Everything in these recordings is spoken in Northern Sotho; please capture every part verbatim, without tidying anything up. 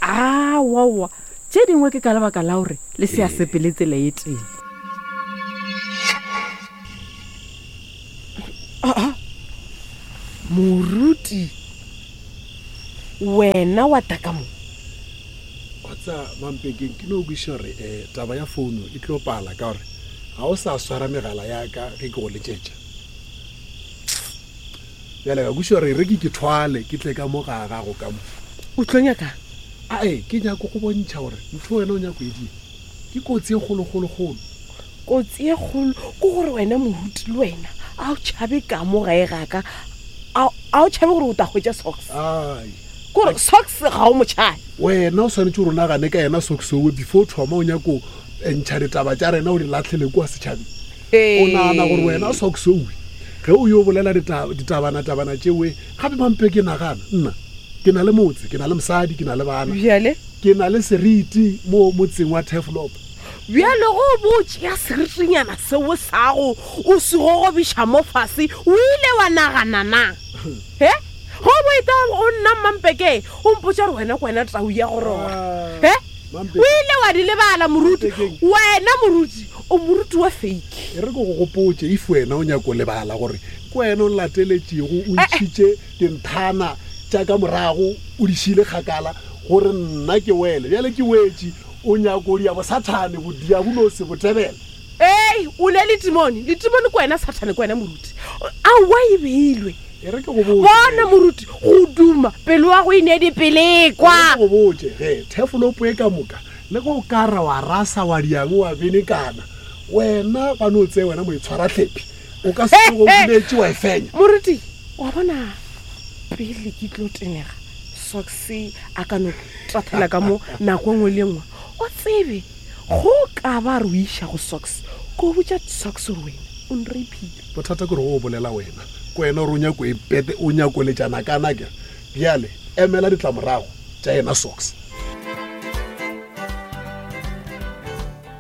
Aowaowa, tše dingwe ke ka lebaka la gore le se ya sepele tsela e tee. Aa, moruti, wena wa tla ka mo? Wa tseba, Mampekeng, ke no kwešiša gore um taba ya founo e tlo pala ka gore ga o sa swara megala ya ka ge ke go letšetša. Bjale ka kwešiša gore e re ke ke thwale ke tle ka mo ga gago ka mo. O tlo nyakang? Ae, ke nyako go bontšha gore ntho wena o nyako e dira ke kotsi e kgolokgolokgolo. Kotsi e kgolo ke gore wena moruti le wena a o tšhabe ka mo gae ga ka, a o tšhabe gore o tla hwetša Socks. Ai. Kore Socks ga o mo tšhabe. Wena o swanetše gore o nagane ka yena Socks owe before o thoma o nyako ntšha ditaba tša rena o di lahlele kua setšhabeng. O nagana gore wena Socks owe ge o yo bolela ditabana-tabana tšewe, gape mampe ke nagana nna ke na le motse, ke na le mosadi, ke na le bana. Bjale? Ke na le seriti mo motseng wa Turfloop. Bjale go bo o tšea seritinyana seo sa go o se gogobiša mo fase, o ile wa nagana na? He? Ge o bo eta go nna Mmampeke, o mpotša gore wena ke wena tau ya go rora. He? O ile wa di lebala moruti. Wena moruti, o moruti wa fake. E re ke go gopotše, if wena o nyako lebala gore ke wena o nlateletšego, o ntšhitše dinthana tša ka morago, o di šile kgakala gore nna ke wele. Bjale ke wetše, o nyako dia bosathane, bodiabolosi, botebele. Ei, o ne letimone. Letimone ke wena Sathane, ke wena moruti. Aowa e beilwe. E re ke go botše. Bona moruti, go duma, pelo ya go e ne dipelekwa. E re ke go botše ge, thefolopo e ka moka, le ge o ka ra wa rasa wa diang wa benekana, wena ba no tseye wena moitshwarahlephi, o ka se tsoge o boletše wa e fenya. Moruti, wa bona pele ke tlo tenega, Socks a ka no tathela ka mo nako e nngwe le e nngwe. O tsebe, go ka ba re o iša go Socks, ko botša Socks gore wena o nrapile. Bothata ke gore go bolela wena, ke wena gore o nyako e pete, o nyako letšana kana ke. Bjale emela ditlamorago tša yena Socks.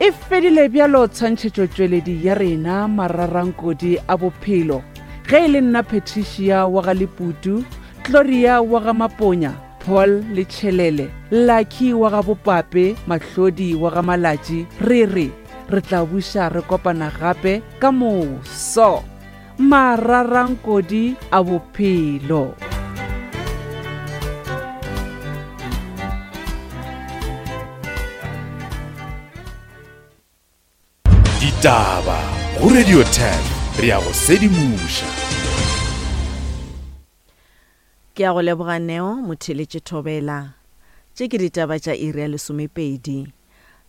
E fedile bjalo tshwantšhetšotšweledi ya rena mararankodi a bophelo. Ge e le nna Patricia wa ga Leputu, Gloria wa ga Maponya, Paul le Tšhelele, Lucky wa ga Bopape, Mahlodi wa ga Malatši, re re re tla buša re kopana gape ka moso. Mararankodi a bophelo. Ditaba go Radio ten re ya go sedimoša. Ke a go leboga Neo Motheletše Thobela. Tše ke ditaba tša iri ya lesomepedi.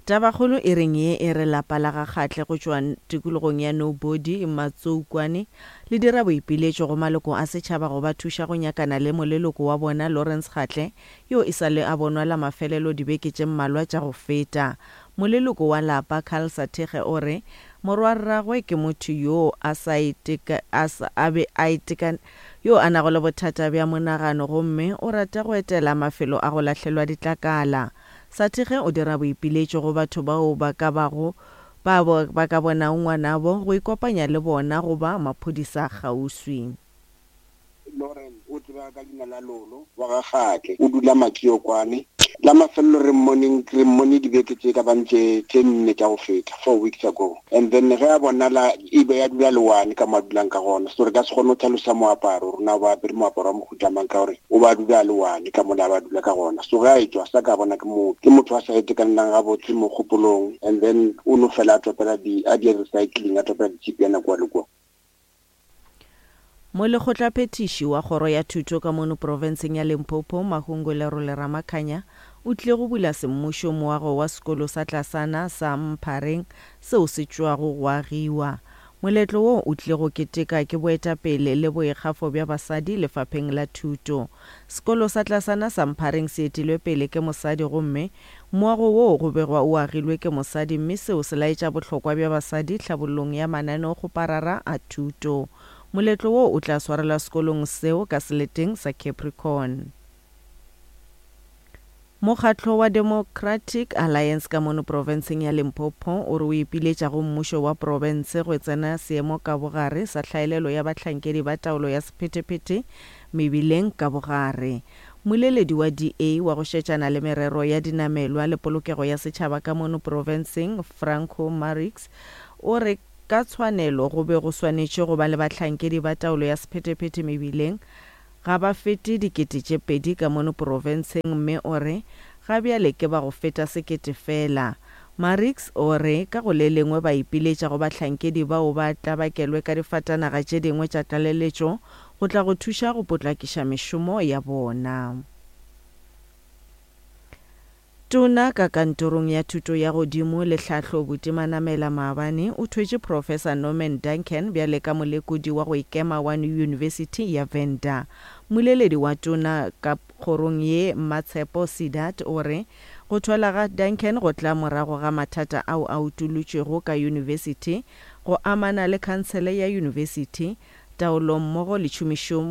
Tabakgolo e reng ye e re lapa la ga Kgatle go tšwa tikologong ya Nobody, Matsoukwane, le dira boipiletšo go maloko a setšhaba go ba thuša go nyakana le moleloko wa bona Lawrence Kgatle yo e sa le a bonwa la mafelelo dibeke tše mmalwa tša go feta. Moleloko wa lapa Carl Sathekge o re morwarragwe ke motho yo a sa iteka, a sa, a be a iteka, yo a nago le bothata bja monagano gomme o rata go etela mafelo a go lahlelwa ditlakala. Sathekge o dira boipiletšo go batho bao ba ka bago ba ba ka bonago ngwanabo go ikopanya le bona goba maphodisa kgauswi. Lauren o tseba ka leina la Lolo wa ga Kgatle, o dula Makiokwane. La mafelelo re mmoneng, re mmone dibeke tše ka bang tše, tše nne tša go feta, four weeks ago. And then ge a bonala e be ya dula le one ka mo a dulang ka gona. So re ka se kgone go tlhalosa moaparo, rona ba apere moaparo wa mohuta mang ka gore o ba dula le one ka mola ba dula ka gona. So ge a etšwa sa ka bona ke motho, ke motho a sa itekanelang gabotse mo kgopolong, and then o no fela a topela di, a di recycling, a topela ditšhipiana kua le kua. Molekgotlaphethiši wa kgoro ya thuto ka mono profenseng ya Limpopo, Mahungu Lerole Ramakhanya, o tlile go bula semmušo moago wa sekolo sa tlasana sa Mphareng seo se tšwago go agiwa. Moletlo wo o tlile go keteka ke boetapele le boikgafo bja basadi lefapheng la thuto. Sekolo sa tlasana sa Mphareng se etilwe pele ke mosadi gomme moago wo go begwa o agilwe ke mosadi, mme seo se laetša bohlokwa bja basadi tlhabollong ya mananeokgoparara a thuto. Moletlo wo o tla swarelwa sekolong seo ka seleteng sa Capricorn. Mokgatlo wa Democratic Alliance ka mono profenseng ya Limpopo o re o ipiletša go mmušo wa profense go tsena seemo ka bogare sa tlhaelelo ya bahlankedi ba taolo ya sephethephethe mebileng ka bogare. Mmoleledi wa D A wa go šetšana le merero ya dinamelwa le polokego ya setšhaba ka mono profenseng, Franco Marix, o re ka tshwanelo go be go swanetše go ba le bahlankedi ba taolo ya sephethephethe mebileng ga ba fete dikete tše pedi ka mono profenseng mme o re ga bjale ke ba go feta sekete fela. Marix o re ka go le lengwe ba ipiletša go bahlankedi bao ba tlabakelwe ka difatanaga tše dingwe tša tlaleletšo go tla go thuša go potlakiša mešomo ya bona. Tona ka kantorong ya thuto ya godimo le tlhahlo Buti Manamela maabane o thwetše Professor Norman Duncan bjale ka molekodi wa go ikema wa Yunibesithi ya Venda. Mmoleledi wa tona ka kgorong ye Mmatshepo Sidat o re go thwala ga Duncan go tla morago ga mathata ao a utolotšwego ka yunibesithi go amana le khansele ya yunibesithi, taolo mmogo le tšhomišo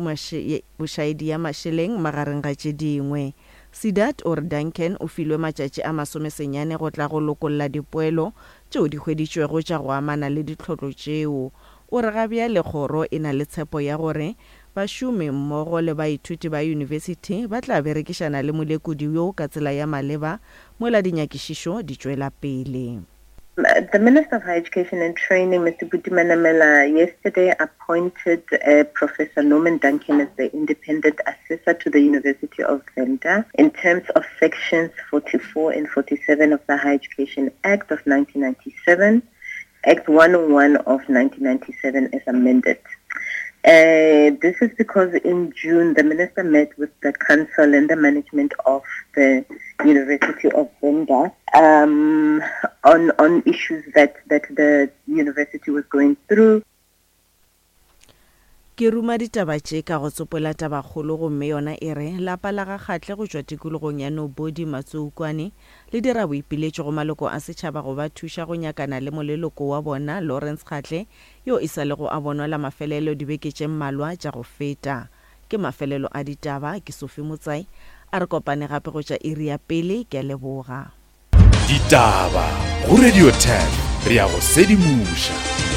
bošaedi ya mašeleng magareng ga tše dingwe. Sidat o re Duncan o filwe matšatši a masomesenyane go tla go lokolla dipoelo tšeo di hweditšwego tša go amana le ditlhotlo tšeo. O re ga bjale kgoro e na le tshepo ya gore bašomi mmogo le baithuti ba yunibesithi ba tla berekišana le molekodi yo ka tsela ya maleba mola dinyakišišo di tšwela pele. The Minister of Higher Education and Training, Mister Buti Manamela, yesterday appointed, uh, Professor Norman Duncan as the independent assessor to the University of Venda in terms of sections forty-four and forty-seven of the Higher Education Act of nineteen ninety-seven, Act one oh one of nineteen ninety-seven as amended. Uh, this is because in June, the minister met with the council and the management of the University of Venda, um, on, on issues that, that the university was going through. Ke ruma ditaba tše ka go tsopola tabakgolo gomme yona e re lapa la ga Kgatle go tšwa tikologong ya Nobodi Matsoukwane le dira boipiletšo go maloko a setšhaba go ba thuša go nyakana le moleloko wa bona Lawrence Kgatle yo e sa lego a bonwa la mafelelo dibeke tše mmalwa tša go feta. Ke mafelelo a ditaba, ke Sophie Motsai, a re kopane gape go tša iri ya pele, ke a leboga. Ditaba go Radio ten, re ya go sedimoša.